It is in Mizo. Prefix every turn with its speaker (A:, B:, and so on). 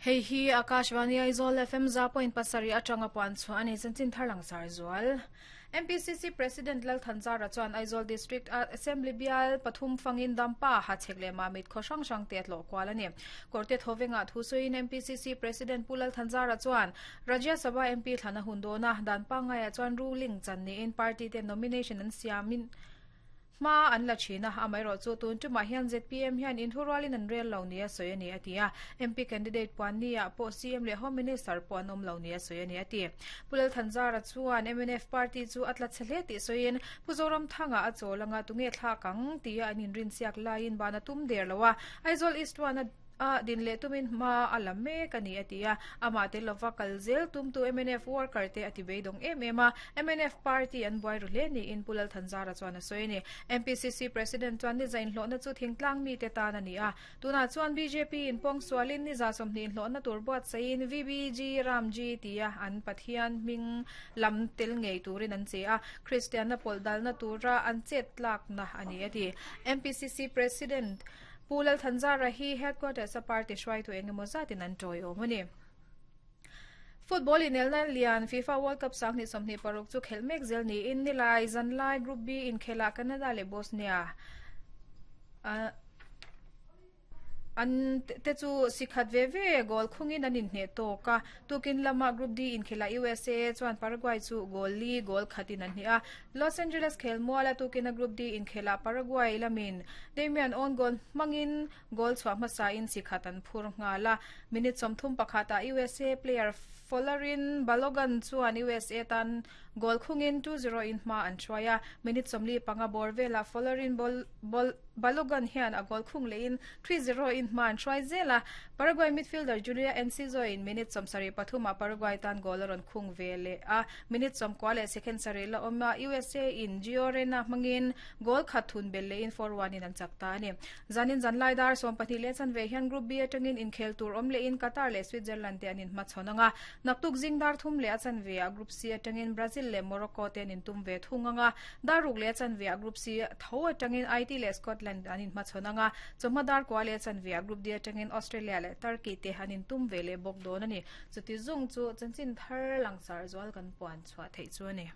A: Hei hi Akashvani Aizawl FM 100.7 atanga puan chhuah a ni. Chanchin thar langsar zual. MPCC President Lal Thanzara chuan Aizawl District Assembly bial pathum fangin Dampa, Hachhek leh Mamit khaw hrang hrang te a tlawh kual a ni. Kawrte Thawvengah thu sawiin MPCC President Pu Lal Thanzara chuan Rajya Sabha MP thlan a hun dawn a, dan pangngaiah chuan ruling chan niin party ten nomination an siamin Hma an la thin a, amaherawhchu tun tumah hian zpm hian inthurualin an rel lo nia sawi a ni a ti a. MP candidate puan niah pawh CM leh Home Minister pawh an awm lo nia sawi a ni a ti. Pu Lalthanzara chuan mnf party chu a tla chhe hle tih sawiin Pu Zoramthanga a chawl anga tunge thlak ang tia an inrinsiak laiin ban a tum der lo a, Aizawl East one a A din leh tumin hma a la mek a ni a ti a, amah tel lova kal zel tumtu mnf worker te a ti beidawng em em a, mnf party an buai ru hle niin Pu Lalthanzara chuan a sawi a ni. MPCC President chuan niza inhlawhna chu thingtlang mite tan a ni a, tunah chuan bjp in pawngsualin niza 20 inhlawhna tur buatsaihin VBG Ramji tia an Pathian hming lam tel ngei turin an che a, Kristianna pawlh dalna tura an chet tlakna a ni a ti. MPCC President. Pu Lalthanzara hi Headquarters a party hruaitu eng emaw zatin an tawiawm a ni. Football inelna lian FIFA World Cup 2026 chu khelh mek zel niin nilai zanlai Group B inkhelah Canada leh Bosnia an te chu sikhat ve ve goal khungin an inhneh tawk a. Tukin lama Group D inkhelah USA chuan Paraguay chu goal li goal khatin an hneh a. Los Angeles khelmuala tukina Group D inkhelah Paraguay lamin Damian own goal hmangin goal chhuah hmasain chi khat an phur nghal a. Minute 31 ah USA player Folarin Balogun chuan USA tan goal khungin 2-0 in hma an hruai a. Minute 45 bawr velah Folarin Balogun hian a goal khung lehin 3-0 in hma an hruai zel a. Paraguay midfielder Julia Enciso in minute 73 ah Paraguay tan goal a rawn khung ve leh a. Minute 90 leh second sarih la awm a, USA in Gio Reyna hmangin goal khat thun belh lehin 4-1 in an chak ta a ni. Zanin zanlai dar 12 leh chanve hian Group B atangin inkhel tur awm lehin Qatar leh Switzerland te an inhmachhawn ang a. Naktuk zing dar thum leh a chanve ah Group C atangin Brazil leh Morocco te an intum ve thung ang a. Dar ruk leh a chanve ah Group C tho atangin IT leh Scotland an inhmachhawn ang a. Chawhma dar kua leh a chanve ah Group D atangin Australia leh Turkey te an intum ve leh bawk dawn a ni. Chuti zung chu chanchin thar langsar zual kan puan chhuah theih chu a ni.